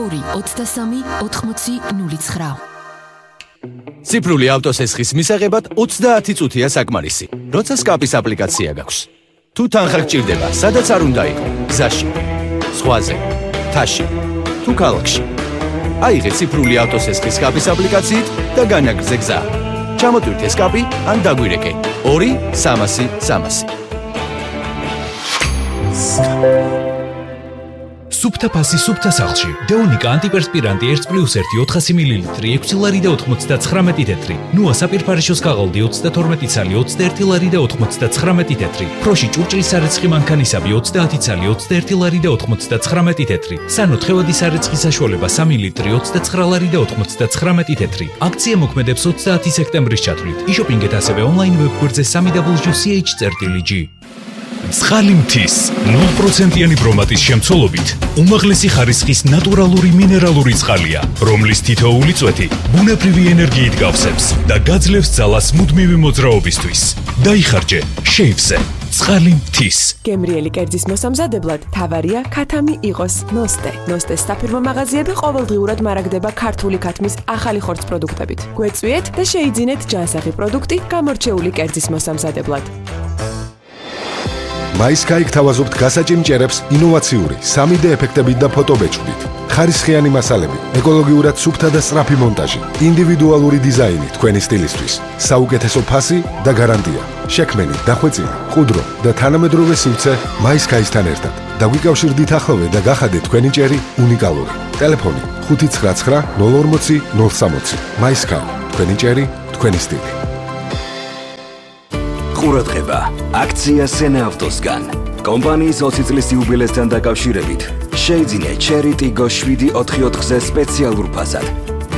2-23-80-09. ციფრული ავტოსესხის მისაღებად 30 წუთია საკმარისი, როცა სკაპის აპლიკაცია გაქვს. თუ თანხა გჭირდება, სადაც არ უნდა იყო, გზაში, ზღვაზე, მთაში, თუ ქალაქში. აიღე ციფრული ავტოსესხის სკაპის აპლიკაციით და განაგრძე გზა. ჩამოტვირთე სკაპი ან დაგვირეკე 2-300-300. სუფთა ფასი სუფთა სახლში. დეონიკა ანტიპერსპირანტი 1+1 400 მლ 6 ლარი და 99 თეთრი. ნუა საპირფარეშოს ქაღალდი 32 ცალი 21 ლარი და 99 თეთრი. ფროში ჭურჭლის სარეცხი მანქანისაბი 30 ცალი 21 ლარი და 99 თეთრი. სანო თხევადი სარეცხი საშუალება 3 ლიტრი 29 ლარი და 99 თეთრი. აქცია მოქმედებს 30 სექტემბრის ჩათვლით. იშოპინგეთ ასევე ონლაინ ვებგვერდზე www.ch.gr. ცხალი მთის 0%-იანი ბრომატის შემცველობით უმაღლესი ხარისხის ნატურალური მინერალური წყალია, რომლის თითოეული წვეთი ბუნებრივი ენერგიით გავსებს და გაძლევს ძალას მუდმივი მოძრაობისთვის. დაიხარჯე შეივზე. ცხალი მთის. გემრიელი კერძის მოსამზადებლად თავარია ქათამი იყოს ნოსტე. ნოსტეს საფირმო მაღაზიები ყოველდღიურად მარაგდება ქართული ქათმის ახალი ხორცს პროდუქტებით. გვეწვიეთ და შეიძინეთ ჯანსაღი პროდუქტი გამორჩეული კერძის მოსამზადებლად. MySky გთავაზობთ გასაჭიმ ჭერებს ინოვაციური 3D ეფექტებით და ფოტობეჭდით. ხარისხიანი მასალები, ეკოლოგიურად სუფთა და სწრაფი მონტაჟი, ინდივიდუალური დიზაინი თქვენი სტილისთვის, საუკეთესო ფასი და გარანტია. შექმენი, დახვეწილი, ყუდრო და თანამედროვე სივრცე MySky-სთან ერთად. დაგვიკავშირდით ახლოვე და გახადეთ თქვენი ჭერი უნიკალური. ტელეფონი 599 040 060. MySky, თქვენი ჭერი, თქვენი სტილი. ყურადღება, აქცია სენა ავტოსგან. კომპანიის 20 წლის იუბილესთან დაკავშირებით შეიძინე Cherry Tiggo 7/4-ზე სპეციალურ ფასად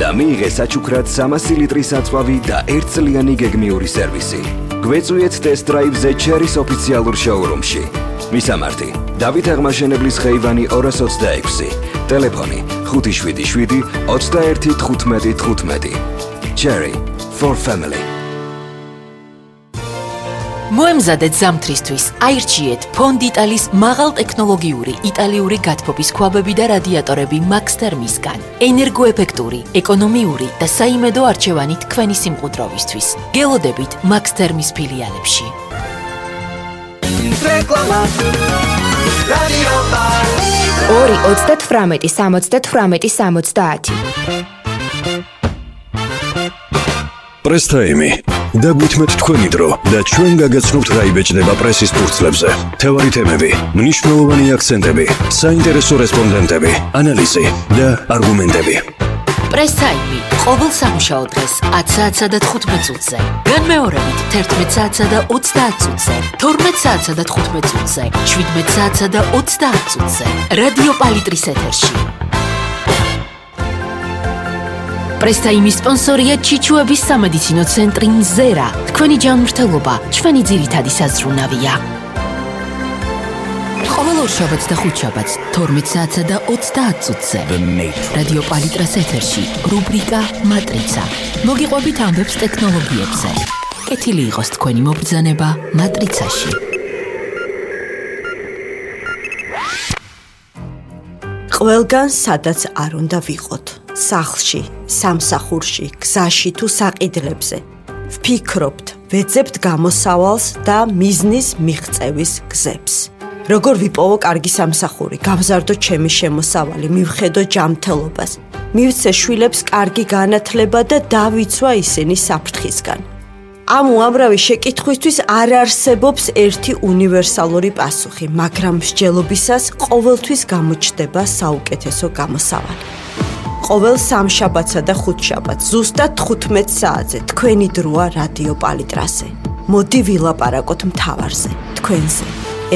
და მიიღე საჩუქრად 300 ლიტრის საწვავი და 1 წლიანი გეგმიური სერვისი. გვეწვიეთ ტესტ დრაივზე Cherry-ს ოფიციალურ შოურუმში. მისამართი: დავით აღმაშენებლის ხეივანი 226. ტელეფონი 577 21 15 15. Cherry for family. მოემზადეთ ზამთრისთვის. აირჩიეთ ფონდ იტალის მაღალტექნოლოგიური იტალიური გათბობის ქვაბები და რადიატორები Max Thermisგან. ენერგოეფექტური, ეკონომიური და საიმედო არჩევანი თქვენი სიმყუდროვისთვის. გელოდებით Max Thermis ფილიალებში. რეკლამა. რადიო 2-38-70-70. პრესტაიმი. დაგვითმეთ თქვენი დრო და ჩვენ გაგაცნობთ რა იბეჭდება პრესის ფურცლებზე. თევარი თემები, მნიშვნელოვანი აქცენტები, საინტერესო რესპონდენტები, ანალიზი და არგუმენტები. პრესაიმი ყოველ სამუშაო დღეს 10 საათსა და 15 წუთზე. განმეორებით 11 საათსა და 30 წუთზე, 12 საათსა და 15 წუთზე, 17 საათსა და 30 წუთზე. რადიო პალიტრის ეთერში. პრესტაიმის სპონსორია ჩიჩუების სამედიცინო ცენტრი მზერა. თქვენი ჯანმრთელობა ჩვენი ძირითადი საზრუნავია. ყოველ ორშაბათს და ხუთშაბათს 12 საათსა და 30 წუთზე. რადიო პალიტრას ეთერში რუბრიკა მატრიცა. მოგიყვებით ამბებს ტექნოლოგიებზე. კეთილი იყოს თქვენი მობრძანება მატრიცაში. ყველგან სადაც არ უნდა ვიყოთ. სახლში, სამსახურში, გზაში თუ საყიდლებზე. ვფიქრობთ, ვეძებთ გამოსავალს და მიზნის მიღწევის გზებს. როგორ ვიპოვო კარგი სამსახური, გავზარდო ჩემი შემოსავალი, მივხედო ჯანმრთელობას, მივცე შვილებს კარგი განათლება და დავიცვა ისინი საფრთხისგან. ამ უამრავი შეკითხვისთვის არ არსებობს ერთი უნივერსალური პასუხი, მაგრამ მსჯელობისას ყოველთვის გამოჩნდება საუკეთესო გამოსავალი. ყოველ სამშაბათსა და ხუთშაბათს ზუსტად 15 საათზე თქვენი დროა რადიო პალიტრაზე. მოდი ვილაპარაკოთ მთავარზე, თქვენზე,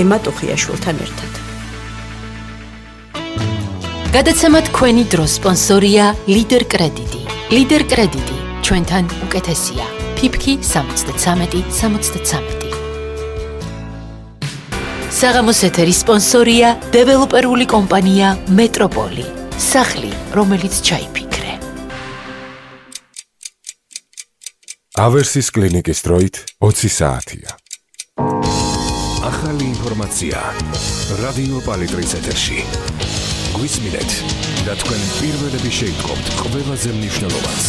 ემა ტუხიაშვილთან ერთად. გადაცემა თქვენი დრო სპონსორია ლიდერ კრედიტი. ლიდერ კრედიტი ჩვენთან უკეთესია. ფიფკი 73-73. საღამოს ეთერის სპონსორია დეველოპერული კომპანია მეტროპოლი. სახლი, რომელიც ჩაიფიქრე. ავერსის კლინიკის დროით 20 საათია. ახალი ინფორმაცია რადიო პალიტრის ეთერში. გვისმინეთ და თქვენ პირველები შეიტყობთ ყველაზე მნიშვნელოვანს.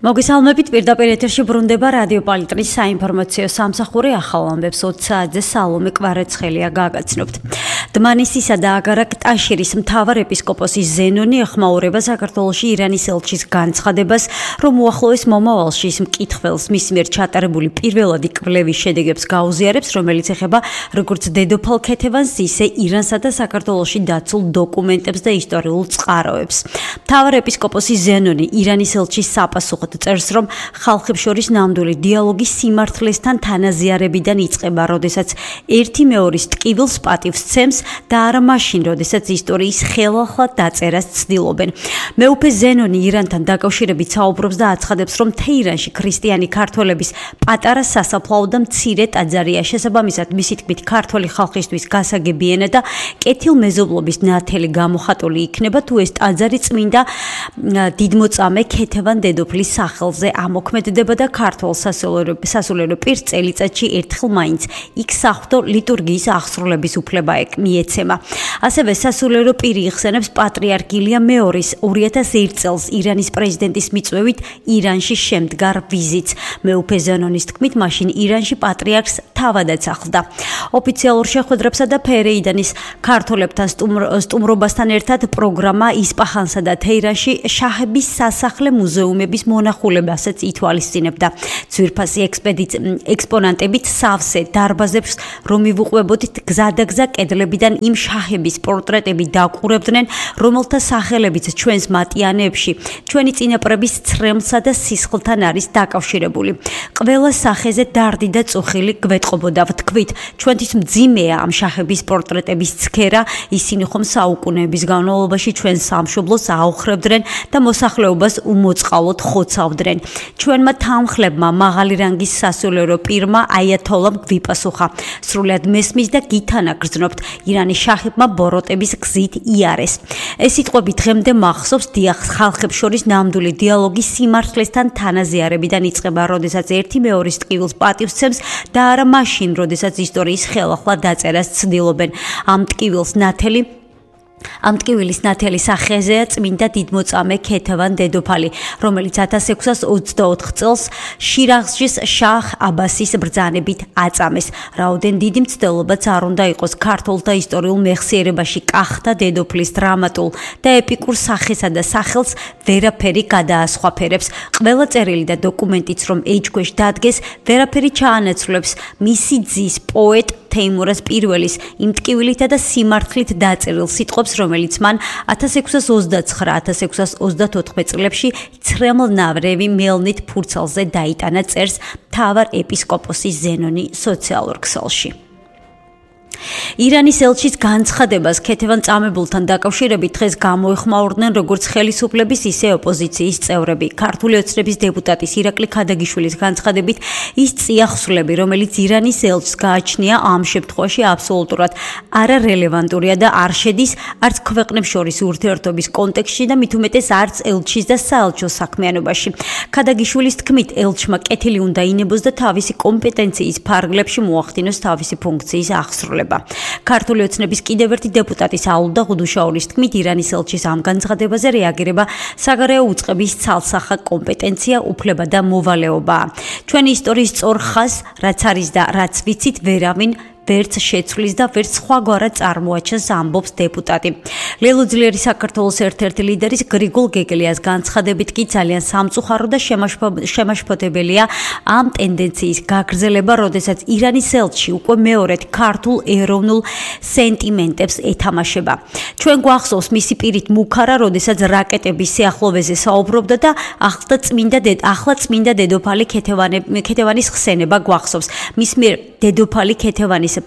მოგესალმებით, პირდაპირ ეთერში ბრუნდება რადიო პალიტრის საინფორმაციო სამსახური ახალ ამბებს 20 საათზე სალომე კვარაცხელია გაგაცნობთ. დმანისისა და აგარაკ-ტაშირის მთავარ ეპისკოპოსი ზენონი ეხმაურება საქართველოში ირანის ელჩის განცხადებას, რომ უახლოეს მომავალში ის მკითხველს მის მიერ ჩატარებული პირველადი კვლევის შედეგებს გაუზიარებს, რომელიც ეხება როგორც დედოფალ ქეთევანს, ისე ირანსა და საქართველოში დაცულ დოკუმენტებს და ისტორიულ წყაროებს. მთავარ ეპისკოპოსი ზენონი ირანის ელჩის საპასუხოდ წერს, რომ ხალხებს შორის ნამდვილი დიალოგი სიმართლესთან თანაზიარებიდან იწყება, როდესაც ერთი მეორის ტკივილს პატივს ცემს და არა მაშინ, როდესაც ისტორიის ხელახლა დაწერას ცდილობენ. მეუფე ზენონი ირანთან დაკავშირებით საუბრობს და აცხადებს, რომ თეირანში ქრისტიანი ქართველების პატარა სასაფლაო და მცირე ტაძარია. შესაბამისად, მისი თქმით, ქართველი ხალხისთვის გასაგები ენა და კეთილმეზობლობის ნათელი გამოხატული იქნება, თუ ეს ტაძარი წმინდა დიდმოწამე ქეთევან დედოფლის სახელზე ამოქმედება და ქართველ სასულიერო პირს წელიწადში ერთხელ მაინც იქ საღვთო ლიტურგიის აღსრულების უფლება მიეცემა. ასევე სასულიერო პირი იხსენებს პატრიარქ ილია მეორის 2001 წელს ირანის პრეზიდენტის მიწვევით ირანში შემდგარ ვიზიტს. მეუფე ზენონის თქმით, მაშინ ირანში პატრიარქს თავადაც ახლდა. ოფიციალურ შეხვედრებსა და ფერეიდანის ქართველებთან სტუმრობასთან ერთად პროგრამა ისპაჰანსა და თეირანში შაჰების სასახლე მუზეუმების მონახულებასაც ითვალისწინებდა. ძვირფასი ექსპონანტებით სავსე დარბაზებს რომ მივუყვებოდით გზადაგზა კედლებიდან იმ შაჰების პორტრეტები დაყურებდნენ, რომელთა სახელებიც ჩვენს მატიანეებში ჩვენი წინაპრების ცრემლსა და სისხლთან არის დაკავშირებული. ყველა სახეზე დარდი და წუხილი გვეტყობოდა, ვთქვით, ჩვენთვის მძიმეა ამ შაჰების პორტრეტების ცქერა, ისინი ხომ საუკუნეების განმავლობაში ჩვენ სამშობლოს აოხრებდნენ და მოსახლეობას უმოწყალოდ ხოცავდნენ. ჩვენმა თანხლებმა მაღალი რანგის სასულიერო პირმა აიათოლამ გვიპასუხა. სრულად მესმის და გითანაგრძნობთ, ირანის შაჰებმა ბოროტების გზით იარეს. ეს სიტყვები დღემდე მახსოვს, დიახ, ხალხებს შორის ნამდვილი დიალოგი სიმართლესთან თანაზიარებიდან იწყება, როდესაც ერთი მეორის ტკივილს პატივს ცემს და არა მაშინ, როდესაც ისტორიის ხელახლა დაწერას ცდილობენ. ამ ტკივილის ნათელი სახეზეა წმინდა დიდმოწამე ქეთევან დედოფალი, რომელიც 1624 წელს შირაღშის შაჰ აბასის ბრძანებით აწამეს. რაოდენ დიდი მცდელობაც არ უნდა იყოს ქართულთა ისტორიულ მეხსიერებაში კახთა დედოფლის დრამატულ და ეპიკურ სახესა და სახელს ვერაფერი გადაასხვაფერებს. ყველა წერილი და დოკუმენტიც რომ ეჭქვეშ დადგეს, ვერაფერი ჩაანაცვლებს მისი ძის პოეტ თეიმურაზ პირველის იმ ტკივილითა და სიმართლით დაწერილ სიტყვებს, რომელიც მან 1629-1634 წლებში ცრემლნავრევი მელნით ფურცელზე დაიტანა, წერს მთავარ ეპისკოპოსი ზენონი სოციალურ ქსელში. ირანის ელჩის განცხადებას ქეთევან წამებულთან დაკავშირებით დღეს გამოეხმაურდნენ როგორც ხელისუფლების, ისე ოპოზიციის წევრები. ქართული ოცნების დეპუტატის ირაკლი ქადაგიშვილის განცხადებით, ის წიაღსვლები, რომელიც ირანის ელჩს გააჩნია, ამ შემთხვევაში აბსოლუტურად არარელევანტურია და არ შედის არც ქვეყნებს შორის ურთიერთობის კონტექსტში და მით უმეტეს არც ელჩის და საელჩო საქმიანობაში. ქადაგიშვილის თქმით, ელჩმა კეთილი უნდა ინებოს და თავისი კომპეტენციის ფარგლებში მოახდინოს თავისი ფუნქციის აღსრულება. ქართული ოცნების კიდევ ერთი დეპუტატი საულდა ღუდუშაურის თქმით, ირანის ელჩის ამ განცხადებაზე რეაგირება საგარეო უწყების ცალსახა კომპეტენცია, უფლება და მოვალეობაა. ჩვენი ისტორიის სწორ ხაზს, რაც არის და რაც ვიცით, ვერავინ ვერც შეცვლის და ვერც სხვაგვარად წარმოაჩენს, ამბობს დეპუტატი. ლელო ძლიერი საქართველოს ერთ-ერთი ლიდერის გრიგოლ გეგელიას განცხადებით კი ძალიან სამწუხარო და შემაშფოთებელია ამ ტენდენციის გაგრძელება, როდესაც ირანის ელჩი უკვე მეორედ ქართულ ეროვნულ სენტიმენტებს ეთამაშება. ჩვენ გვახსოვს მისი პირით მუქარა, როდესაც რაკეტების სიახლოვეზე საუბრობდა და ახლა წმინდა დედოფალი ქეთევანის ხსენება გვახსოვს. მის მიერ დედოფალი ქეთევანის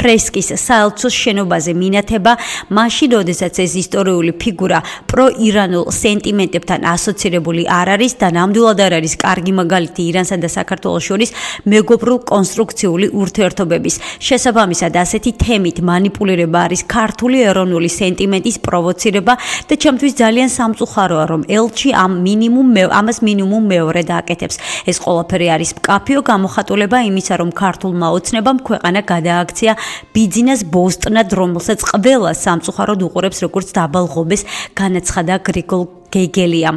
ფრესკის საელჩოს შენობაზე მინათება, მაშინ, როდესაც ეს ისტორიული ფიგურა პრო-ირანულ სენტიმენტებთან ასოცირებული არ არის და ნამდვილად არ არის კარგი მაგალითი ირანსა და საქართველოს შორის მეგობრულ კონსტრუქციული ურთიერთობების. შესაბამისად, ასეთი თემით манипуლირება არის ქართული ეროვნული სენტიმენტის პროვოცირება და ჩემთვის ძალიან სამწუხაროა, რომ ელჩი ამას მინიმუმ მეორედ აკეთებს. ეს ყველაფერი არის მკაფიო გამოხატულება იმისა, რომ ქართულმა ოცნებამ ქვეყანა გადააქცია ბიძინას ბოსტნად, რომელსაც ყველა სამწუხაროდ უყურებს როგორც დაბალღობეს, განაცხადა გრიგოლ გეგელია.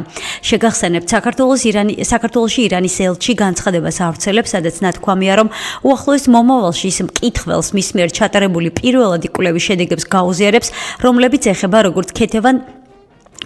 შეგახსენებთ, საქართველოში ირანის ელჩი განცხადებას ავრცელებს, სადაც ნათქვამია, რომ უახლოეს მომავალში ის მკითხველს მის მიერ ჩატარებული პირველადი კვლევის შედეგებს გაუზიარებს, რომლებიც ეხება როგორც ქეთევან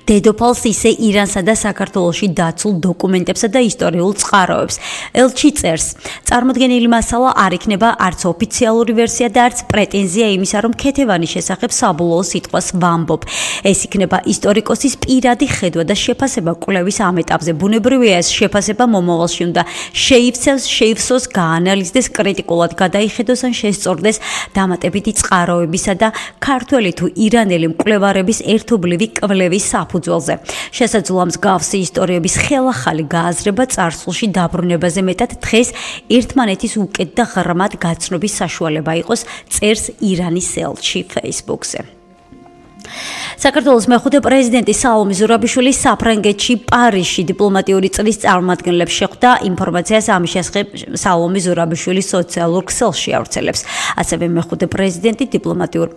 დედოფალს, ისე ირანსა და საქართველოში დაცულ დოკუმენტებსა და ისტორიულ წყაროებს. ელჩი წერს, წარმოდგენილი მასალა არ იქნება არც ოფიციალური ვერსია და არც პრეტენზია იმისა, რომ ქეთევანის შესახებ საბოლოო სიტყვას ვამბობ. ეს იქნება ისტორიკოსის პირადი ხედვა და შეფასება კვლევის ამ ეტაპზე. ბუნებრივია, ეს შეფასება მომავალში უნდა შეივსოს, გაანალიზდეს, კრიტიკულად გადაიხედოს ან შესწორდეს დამატებითი წყაროებისა და ქართველი თუ ირანელი მკვლევარების ერთობლივი კვლევის საფუძველზე. შესაძლოა მსგავსი ისტორიების ხელახალი გააზრება წარსულში დაბრუნებაზე მეტად დღეს ერთმანეთის უკეთ და ღრმად გაცნობის საშუალება იყოს, წერს ირანის ელჩი Facebook-ზე. საქართველოს მეხუთე პრეზიდენტი საულომე ზურაბიშვილი საფრანგეთში პარიზში დიპლომატიური წრის წარმომადგენლებს შეხვდა. ინფორმაციას ამის შესახებ საულომე ზურაბიშვილის სოციალურ ქსელში ავრცელებს. ასევე მეხუთე პრეზიდენტი დიპლომატიურ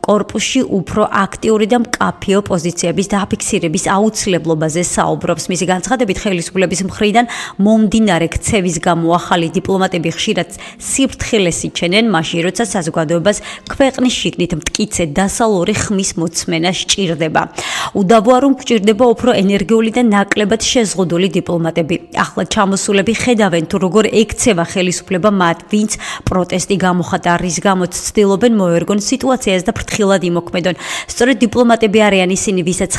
კორპუსში უფრო აქტიური და მკაფიო პოზიციების დაფიქსირების აუცილებლობაზე საუბრობს. მისი განცხადებით, ხელისუფლების მხრიდან მომდინარე ქცევის გამო ახალი დიპლომატები ხშირად სიფრთხილეს იჩენენ, მაშინ როცა საზოგადოებას ქვეყნის შიგნით მტკიცე დასალური ხმის მოწმენა სჭირდება. უდავოა, რომ გვჭირდება უფრო ენერგიული და ნაკლებად შეზღუდული დიპლომატები. ახლა ჩამოსულები ხედავენ, თუ როგორ ექცევა ხელისუფლება მათ, ვინც პროტესტი გამოხატა, რის გამოც ცდილობენ მოერგონ სიტუაციას და ფრთხილად იმოქმედონ. სწორედ დიპლომატები არიან ისინი, ვისაც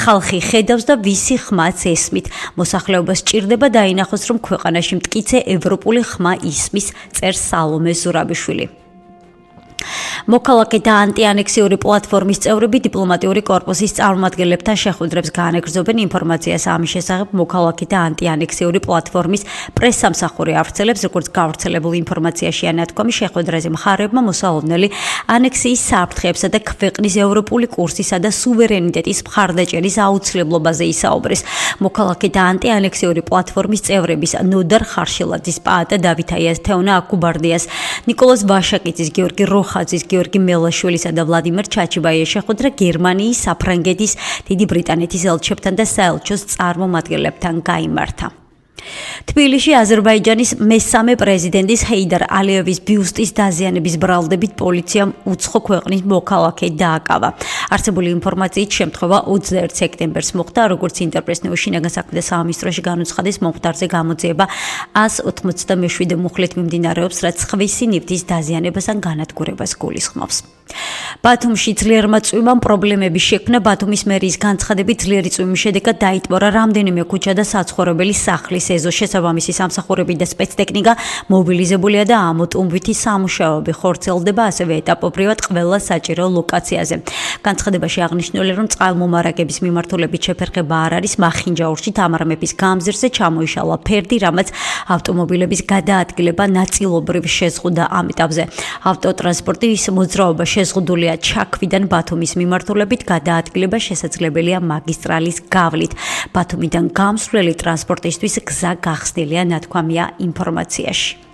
ხალხი ხედავს და ვისი ხმაც ესმით. მოსახლეობას სჭირდება დაინახოს, რომ ქვეყანაში მტკიცე ევროპული ხმა ისმის, წერს საულომე ზურაბიშვილი. მოქალაქე და ანტიანექსიური პლატფორმის წევრები დიპლომატიური კორპუსის წარმომადგენლებთან შეხვედრებს განაგრძობენ. ინფორმაციას ამის შესახებ მოქალაქე და ანტიანექსიური პლატფორმის პრესსამსახური ავრცელებს, როგორც გავრცელებული ინფორმაციაში ანათქვამი, შეხვედრაზე მხარეებმა მოსალოდნელი ანექსიის საფრთხეებსა და ქვეყნის ევროპული კურსისა და სუვერენიტეტის მხარდაჭერის აუცილებლობაზე ისაუბრეს. მოქალაქე და ანტიანექსიური პლატფორმის წევრების ნოდარ ხარშილაძის, პაატა დავითაიას, თეონა აკუბარდიას, ნიკოლოზ ვაშაკიძის, გიორგი როხაძის, გიორგი მელაშვილისა და ვლადიმერ ჩაჩიბაიას შეხვედრა გერმანიის, საფრანგეთის, დიდი ბრიტანეთის ელჩებთან და საელჩოს წარმომადგენლებთან გაიმართა. თბილისში აზერბაიჯანის მესამე პრეზიდენტის ჰეიდარ ალიევის ბიუსტის დაზიანების ბრალდებით პოლიციამ უცხო ქვეყნის მოქალაქე დააკავა. არსებული ინფორმაციით შემთხვევა 21 სექტემბერს მოხდა, როგორც ინტერპრესნიუს შინაგან საქმეთა სამინისტროში განუცხადეს, მომხდარზე გამოძიება 187 მუხლით მიმდინარეობს, რაც ხვისი ნივთის დაზიანებას ან განადგურებას გულისხმობს. ბათუმში ძლიერმა წვიმამ პრობლემები შექმნა. ბათუმის მერიის განცხადებით, ძლიერი წვიმის შედეგად დაიტბორა რამდენიმე ქუჩა და საცხოვრებელი სახლის ეზო. შესაბამისი სამსახურები და სპეცტექნიკა მობილიზებულია და ამოტუმბვითი სამუშაოები ხორციელდება ასევე ეტაპობრივად ყველა საჭირო ლოკაციაზე. განცხადებაში აღნიშნულია, რომ წყალმომარაგების მიმართულებით შეფერხება არ არის. მახინჯაურში თამარ მეფის გამზირზე ჩამოიშალა ფერდი, რამაც ავტომობილების გადაადგილება ნაწილობრივ შეზღუდა. ამ ეტაპზე ავტოტრანსპორტის მოძრაობა შეზღუდულია ჩაქვიდან ბათუმის მიმართულებით, გადაადგილება შესაძლებელია მაგისტრალის გავლით. ბათუმიდან გამსვლელი ტრანსპორტისთვის გზა გახსნილია, ნათქვამია ინფორმაციაში.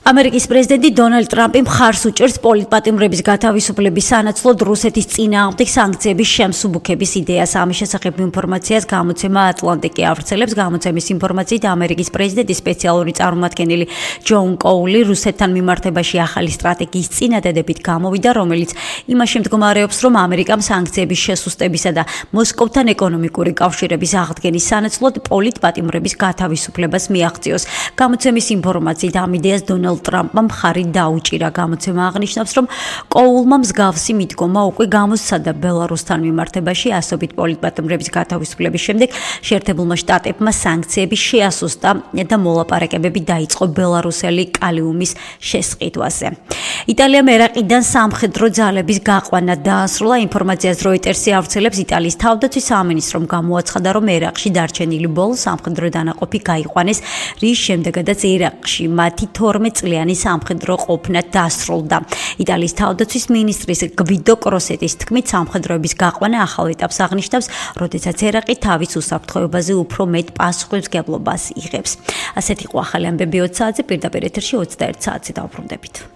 ამერიკის პრეზიდენტი დონალდ ტრამპი მხარს უჭერს პოლიტპატიმრების გათავისუფლების სანაცვლოდ რუსეთის წინააღმდეგ სანქციების შემსუბუქების იდეას. ამის შესახებ ინფორმაციას გამოცემა ატლანტიკი ავრცელებს. გამოცემის ინფორმაციით, ამერიკის პრეზიდენტის სპეციალური წარმომადგენელი ჯონ კოული რუსეთთან მიმართებაში ახალი სტრატეგიის წინადადებით გამოვიდა, რომელიც იმაში მდგომარეობს, რომ ამერიკამ სანქციების შესუსტებისა და მოსკოვთან ეკონომიკური კავშირების აღდგენის სანაცვლოდ პოლიტპატიმრების გათავისუფლებას მიაღწიოს. გამოცემის ინფორმაციით, ამ იდეას დონალდ დონალდ ტრამპმა მხარი დაუჭირა. გამოცემა აღნიშნავს, რომ კოულმა მსგავსი მიდგომა უკვე გამოსცადა ბელარუსთან მიმართებაში ასობით პოლიტპატიმრების გათავისუფლების შემდეგ შეერთებულმა შტატებმა სანქციები შეასუსტა და მოლაპარაკებები დაიწყო ბელარუსელი კალიუმის შესყიდვაზე. იტალიამ ერაყიდან სამხედრო ძალების გაყვანა დაასრულა. ინფორმაციას Reuters-ი ავრცელებს. იტალიის თავდაცვის სამინისტრომ გამოაცხადა, რომ ერაყში დარჩენილი ბოლო სამხედრო დანაყოფი გაიყვანეს, რის შემდეგაც ერაყში მათი 12 წლიანი სამხედრო ყოფნა დასრულდა. იტალიის თავდაცვის მინისტრის გვიდო კროსეტის თქმით, სამხედროების გაყვანა ახალ ეტაპს აღნიშნავს, როდესაც ერაყი თავის უსაფრთხოებაზე უფრო მეტ პასუხისმგებლობას იღებს. ასეთ იყო ახალი ამბები 20 საათზე, პირდაპირ ეთერში 21 საათზე დავბრუნდებით.